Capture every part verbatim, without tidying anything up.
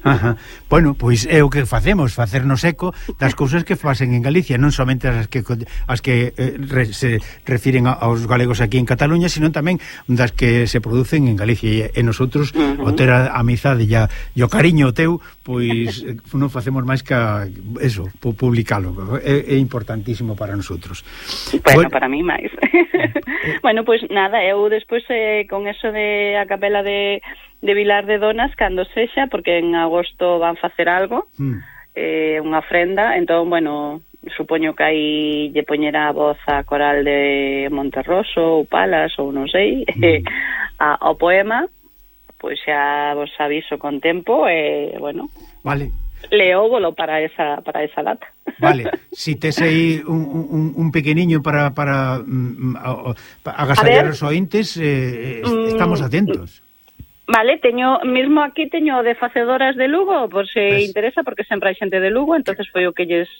Ajá. Bueno, pois é o que facemos, facernos eco das cousas que facen en Galicia, non somente as que as que eh, re, se refiren a, aos galegos aquí en Cataluña, sino tamén das que se producen en Galicia, e, e nosotros uh-huh. o ter a amizade e, a, e o cariño teu, pois non facemos máis que a, eso, publicalo. É, é importantísimo para nosotros. Bueno, bueno para mí máis. Bueno, pois nada, eu despois eh, con eso de a capela de de Vilar de Donas, cando sexa, porque en agosto van facer algo, mm. eh, unha ofrenda, entón, bueno, supoño que aí lle poñerá a voz a coral de Monterroso ou Palas, ou non sei, mm. a, ao poema, pois xa vos aviso con tempo, e, eh, bueno, vale. leóvolo para esa para esa data. Vale, si tes aí un, un, un pequeniño para, para, um, para agasallar os ointes, eh, estamos atentos. Vale, teño, mesmo aquí teño de facedoras de Lugo, por se pues, interesa, porque sempre hai xente de Lugo, entonces foi o que lles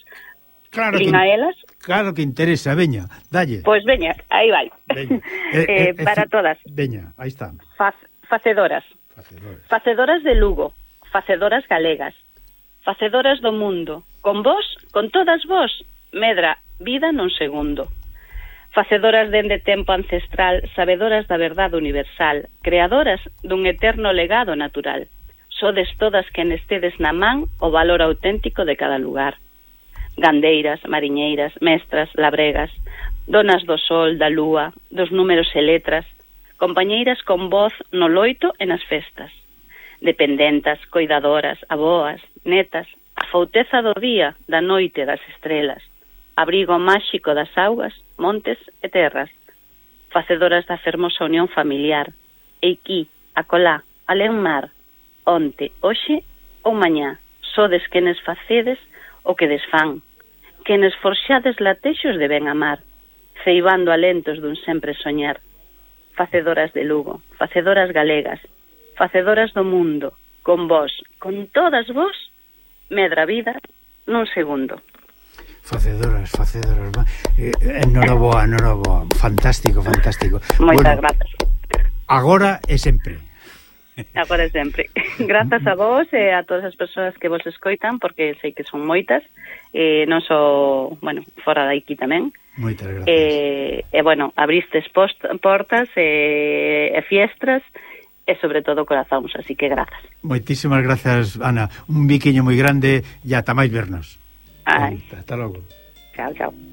claro que, a elas. Claro que interesa, veña, dalle. Pois pues veña, aí vai. Veña. eh, eh, para eh, todas. Veña, aí está. Faz, facedoras. Facedoras. Facedoras de Lugo, facedoras galegas, facedoras do mundo, con vos, con todas vos, medra vida nun segundo. Facedoras dende tempo ancestral, sabedoras da verdade universal, creadoras dun eterno legado natural. Sodes todas quenes tedes na man o valor auténtico de cada lugar. Gandeiras, mariñeiras, mestras, labregas, donas do sol, da lúa, dos números e letras, compañeiras con voz no loito e nas festas. Dependentas, coidadoras, aboas, netas, a fouteza do día, da noite, das estrelas, abrigo máxico das augas, montes e terras, facedoras da fermosa unión familiar, eiquí, acolá, alén mar, onte, hoxe ou mañá, sodes quenes facedes o que desfán, quenes forxades latexos de ben amar, ceibando alentos dun sempre soñar, facedoras de Lugo, facedoras galegas, facedoras do mundo, con vos, con todas vos, medra vida nun segundo. Facedoras, facedoras, eh, enhoraboa, enhoraboa, fantástico, fantástico. Moitas bueno, grazas. Agora e sempre. Agora e sempre. Grazas a vos e a todas as persoas que vos escoitan, porque sei que son moitas, e non só, bueno, fora de aquí tamén. Moitas gracias. E, e bueno, abristes post, portas e, e fiestras, e sobre todo corazóns, así que grazas. Moitísimas grazas, Ana. Un biquiño moi grande e ata máis vernos. Ai. Hasta logo. Chao, chao.